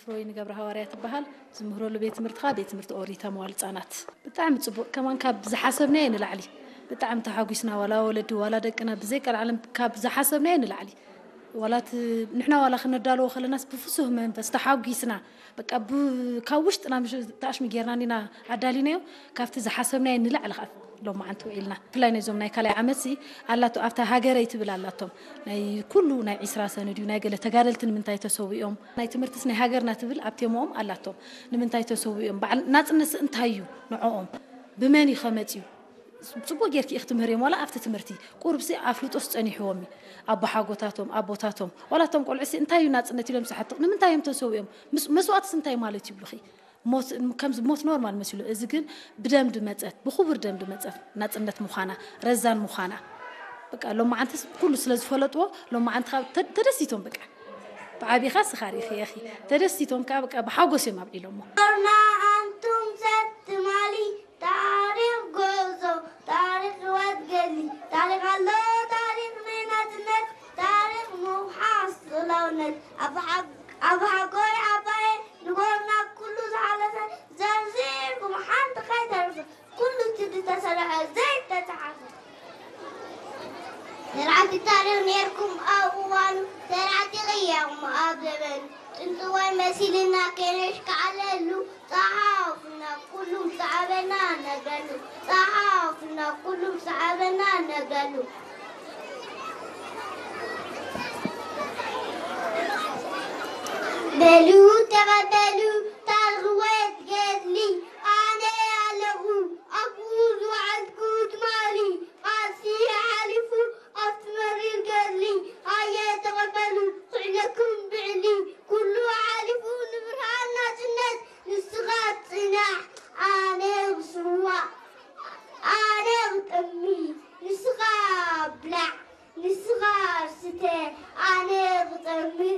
ፍሮይን ገብረ ሃዋርያ ትበሃል። ዝምህረሉ ቤት ትምህርቲ ከዓ ቤት ትምህርቲ ኦሪታ መዋል ህፃናት። ብጣዕሚ ፅቡቅ፣ ከማን ካብ ዝሓሰብናዮ ንላዕሊ ብጣዕሚ ተሓጒስና። ዋላ ወለዲ ዋላ ደቅና ብዘይ ቀልዓለም ካብ ዝሓሰብናዮ ንላዕሊ፣ ዋላ እቲ ንሕና ዋላ ክነዳልዎ ከለናስ ብፍሱህ መንፈስ ተሓጒስና፣ በቃ ብ-፣ ካብ ውሽጥና ምሽ-፣ ተኣሽሚ ጌርና እንዲና ኣዳሊናዮ። ካብቲ ዝሓሰብናዮ ንላዕሊ ከዓ ሎማዓንቲ ውዒልና። ብፍላይ ነዞም ናይ ካልኣይ ዓመትሲ ኣላቶ፣ ኣብታ ሃገረይ ትብል ኣላቶም። ናይ ኩሉ ናይ ዒስራ ሰነድ እዩ፣ ናይ ገለ ተጋደልቲ ንምንታይ ተሰዊኦም? ናይ ትምህርትስ ናይ ሃገርና ትብል ኣብ ቴማኦም ኣላቶም። ንምንታይ ተሰዊኦም? በዓል ናጽነትሲ እንታይ እዩ ንዕኦም? ብመን እዩ ከመጽዩ? ጽቡቅ ጌርኪ ኢኺ ትምህርዮም፣ ዋላ ኣብቲ ትምህርቲ ቁሩብሲ ኣፍልጦስ ጸኒሕዎም እዩ። ኣቦሓጎታቶም፣ ኣቦታቶም፣ ዋላ እቶም ቆልዑሲ እንታይ እዩ ናጽነት ኢሎም ዝሓትቕ? ንምንታይ እዮም ተሰዊኦም? ምስ-፣ መስዋእትስ እንታይ ማለት ይብሉኺ? ሞት፣ ከምዚ ሞት ኖርማል መሲሉ፣ እዚ ግን ብደም ድመጸት፣ ብኽቡር ደም ድመጸት ናጽነት ምዃና፣ ረዛን ምዃና። በቃ ሎማዓንትስ ኩሉ ስለ ዝፈለጥዎ፣ ሎማዓንቲ ካብ ተ-፣ ተደሲቶም በቃ። ብዓቢኻ ስኻ ርኢኺ ኢኺ። ተደሲቶም ከኣ በቃ ብሓጎስ እዮም ኣብዒሎሞ። ኣርና ኣንቱም ሰብ ትማሊ፣ ታሪኽ ጉዕዞ፣ ታሪኽ ህይወት ገድሊ፣ ታሪኽ ኣሎ፣ ታሪኽ ናይ ናጽነት፣ ታሪኽ ምውሓስ ልኡላውነት። ኣብ ሓ-፣ ኣብ ሓጎይ ዓባየ ንጎርና ኩሉ ዝሓለፈ ዘርዚርኩም ሓንቲ ከይተርፍ ኩሉ እቲ ዝተሰርሐ ዘይተጻሕፈ። ሰራሕቲ ታሪኽ ነርኩም ኣብ እዋኑ፣ ሰራሕቲ ቅያኹም ኣብ ዘበኑ። ጥንቲ ወይ መሲልና ከነሽካዕለሉ፣ ጸሓፉና ኩሉም ሰዓበና ነግረሉ፣ ጸሓፉና ኩሉም ሰዓበና ነግረሉ። በሉ ተቐበሉ ታሪኽ ወይ ገድሊ፣ ኣነ ኣለኹ ኣብኡ ዝወዓልኩ ትማሊ። ቃልሲ ሓሊፉ ኣብቲ መሪር ገድሊ፣ ሃየ ተቐበሉ ክዕለኩም ብዕሊ። ኩሉ ሓሊፉ ንብርሃን ናጽነት፣ ንስኻ ጽናሕ ኣነ ክስዋእ፣ ኣነ ክጠሚ ንስኻ ብላዕ፣ ንስኻ ስተ ኣነ ክጠምእ።